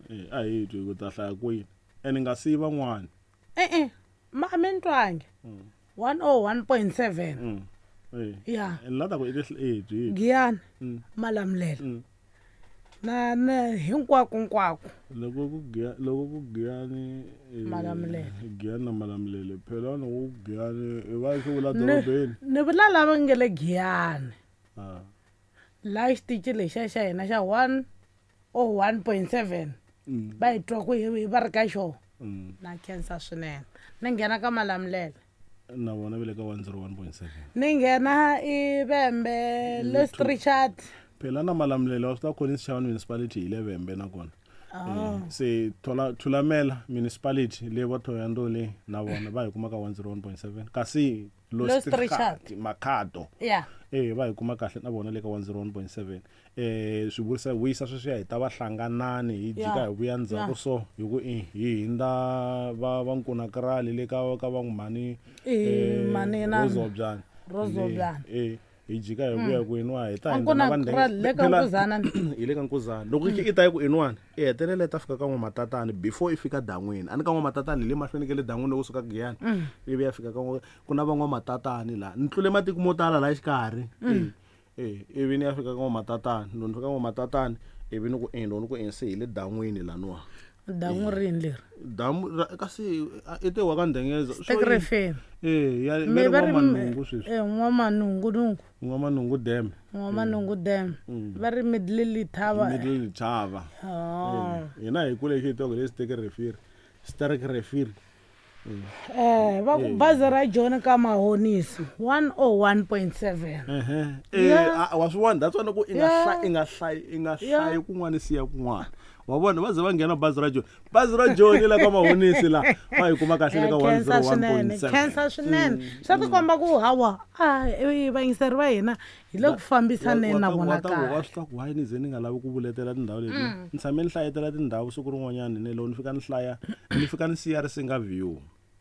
Eh, a hi twi ku ta hlaya kwini ene nga siyi van'wana E-e ma a mi ni twangi 101.7. Eh. Ya. Ene la ta ku i ti eh, byi Giyani, Malamulele na hinkwako nkwako. Loko ku giya loko ku giyani eh, Malamulele. Giyani na Malamulele phela loko ku giyani i va swi vula Ni dorobeni. ni vula lava nge le Giyani. Ah. Laha xitichi lexiya xa hina xa 101.7 va hi twa ku hi va ri ka xona. Na khensa swinene. Ni nghena ka Malamulele. Na vona va le ka 101.7. Ni nghena i Vhembe, Lost Richard. Phela na Malamulele wa swi tiva Collins Chabane municipality hi le Vhembe nakona. Oh. Eh, se thola Thulamela municipality le va Thohoyandou le na vona va hi kuma ka 101.7 kasi Lost Lost Richard. Richard Makhado. Yeah. Eh va hi kuma kahle na vona le ka 101.7. Eh swi vurisa vuyisa sweswiya hi ta va hlanganani hi jika Yeah. hi vuya ndzhaku Yeah. so hi ku i hi hindza va va Nkunakrali le ka va Mhani Eh, Mhani na- Rozobyana. Rozobyana. Eh hi jika hi vuya ku inwa hi ta A hindza na va Nkunakrali, le ka Phela- Nkuzana. hi le ka Nkuzana. Loko i ta yi ku inwani i hetelela i ta fika ka N'wamatatani before i fika dan'wini. A ni ka N'wamatatani hi le mahlweni ka le dan'wini loko u suka Giyani. Ivi ya fika ka n'wa ku na va N'wamatatani laha. Ni tlule matiko mo tala laha xikarhi. Eh, ivi ni ya fika ka N'wamatatani. Loko ni fika ka N'wamatatani ivi ni ku e loko ni ku e se hi le dan'wini laniwa. Damu rini leri? Damu ra kasi i te wa ka Ndengeza. So Sterk Rivier. Eh, ya Mi va ri N'wamanungu sweswi. Eh, N'wamanungu nungu. N'wamanungu Dam. N'wamanungu Dam. Va ri Middle Letaba. Middle Letaba. Oh. Eh, hina hi kule hi tiva le Sterk Rivier. Sterk Rivier. Eh, va ku bazi ra John ka Mahonisi 101.7. Ehe. Eh, Yeah. wa swi vona that's why loko i nga Yeah. hlayi i nga hlayi i nga Yeah. hlayi kun'wana siya kun'wana. Wa vona va ze va nghena bazi ra John. Bazi ra John la ka Mahonisi la va hi kuma kahle le ka Khensa swinene, 101.7. khensa swinene. Swa tikomba ku hawa a vayingiseri va hina hi le ku fambisaneni na vona wa kahle. swi tiva ku why ni ze ni nga lavi ku vuletela tindhawu leti. Ni tshame ni hlayetela tindhawu siku rin'wanyana ni loko ni fika ni hlaya ni fika ni siya Risinga View.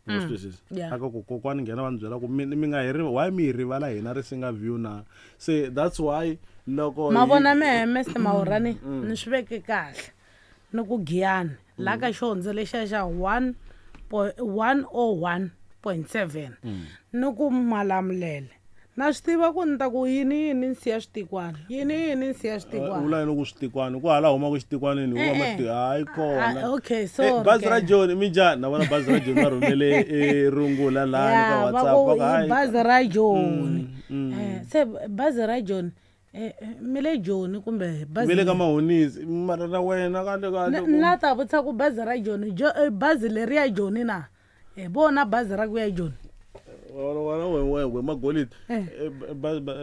Wa swi twisisa? Yeah. Aka ku kokwani nghena va ni byela ku mi mi nga hi why mi hi rivala hina Risinga View na. Se that's why loko Ma hi- vona mehe Mr Mahorani ni swi veke kahle. Ni ku Giyani la ka xihondzo lexiya xa 101.7 ni ku Malamulele. Na swi tiva ku ni ta ku yini yini ni siya switikwana, yini yini ni siya switikwana. vula yini ku switikwana ku hala humaka xitikwanini hi Eh, kuma eh. mati hayi kona Ah, okay, sorry, bazi ra ke. John mi njhani na vona bazi ra John va rhumele eh, rungula lani ka Ya, va WhatsApp ku va ku i hayi bazi ra Joni. Eh, se bazi ra Joni eh, eh, mi le Joni kumbe bazi mi le ka Mahonisi mara na wena kahle kahle Ni la ta vutisa ku bazi ra Joni bazi leri ya Joni na hi vona bazi ra ku ya Joni. wena wena we we magolidi Eh. Eh, bazi ra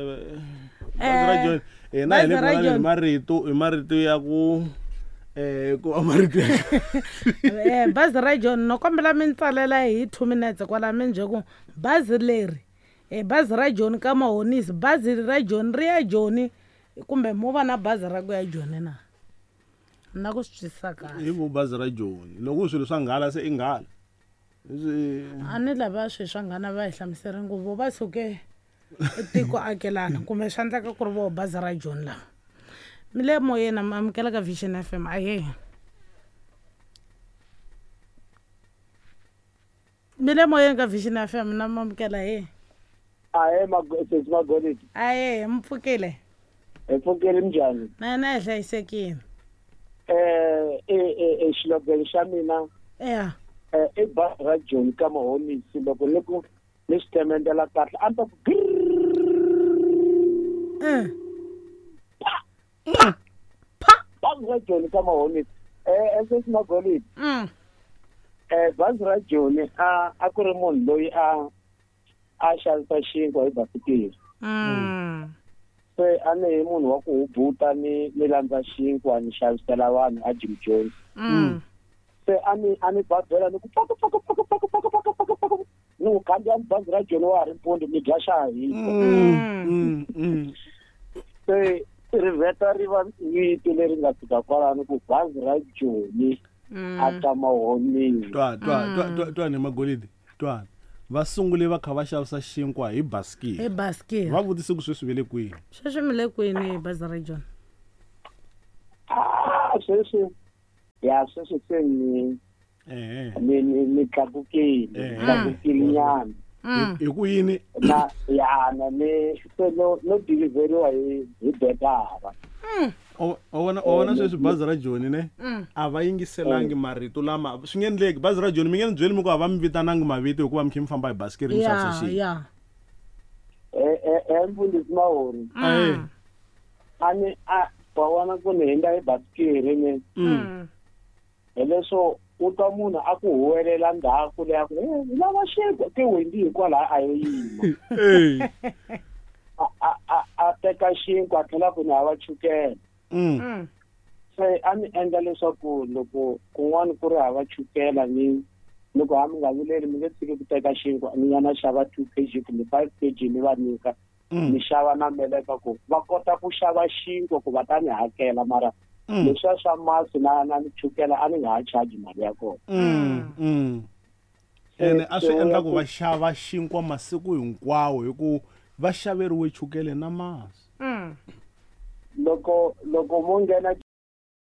Eh, John hina hi le bazi ra ku vulavuleni hi John. marito hi marito ya ku eh ku va marito ya Eh, bazi ra Joni no kombela mi ni tsalela hi 2 minutes kwala mi ni byela ku bazi leri eh, bazi ra Joni ka Mahonisi bazi ra Joni ri ya Joni kumbe mo va na bazi ra ku ya Joni na. Na ku swi twisisa kahle. hi ku bazi ra Joni loko swilo swa nghala se i nghala Leswi A ni lava swilo swa nghana va hi hlamuseri ngopfu va suke tiko akelana kumbe swa endleka ku ri voho bazi ra Joni lava. Mi le moyeni mi amukela ka Vision FM ahee. Mi le moyeni ka Vision FM na mi amukela he. Ahee sesi Magolidi. Ahee mi pfukile. Hi pfukile minjhani? Na hina hi hlayisekile. Eh eh xilogelo xa mina Ya. eh i bazi ra Joni ka Mahonisi loko ni ku ni swi themendela kahle a ni ta ku Eh. bazi ra Joni ka Mahonisi. Eh sesi Magolidi. Eh bazi ra Joni a ku ri munhu loyi a xavisa xinkwa hi basikiri. Se a ni hi munhu wa ku hubuta ni ni landza xinkwa ni xavisela vanhu a Jim Jones. Se a ni a ni babela ni ku paka paka paka paka paka paka paka paka ni ku khandziya bazi ra Joni wa ha ri mpundzu mi dya xa ha hisa. Se ri vheta ri va vito leri nga fika kwalano ku bazi ra Joni a ka Mahonisi. Twa twa twa twa twa ni Magolidi twa va sungule va kha va xavisa xinkwa hi basikiri. Hi basikiri. Va vutise ku sweswi ve le kwihi. Sweswi mi le kwini hi bazi ra Joni? Ah, sweswi Ya sweswi se ni ni tlakukile, tlakukile nyana. Hi ku yini? Na ya na ni se no deliveriwa hi bekara. O vona sweswi bazi ra Joni ne? A va yingiselangi marito lama swi nge endleki. Bazi ra Joni mi nge ni byeli mi ku a va mi vitanangi mavito hikuva mi khe mi famba hi basikiri mi xavisa xinkwa. Mfundhisi Mahori. A ni a wa vona ku ni hindza hi basikiri ni. Hileswo u twa munhu a ku huwelela ndzhaku leyi a ku lava xinkwa ke wendi hikwalaho a yo yima. A teka xinkwa a tlhela ku ni hava chukele. Se a ni endla leswaku loko kun'wana ku ri hava chukela ni loko ha mi nga vileli mi nge tshiki ku teka xinkwa ni ya na xava 2 kg kumbe 5 kg ni va nyika. Ni xava na meleka ku va kota ku xava xinkwa ku va ta ni hakela mara leswiya swa masi na chukela a ni nga ha charge mali ya kona. Ene a swi endla ku va xava xinkwa masiku hinkwawo hi ku va xaveriwe chukele na masi. Loko mo nghena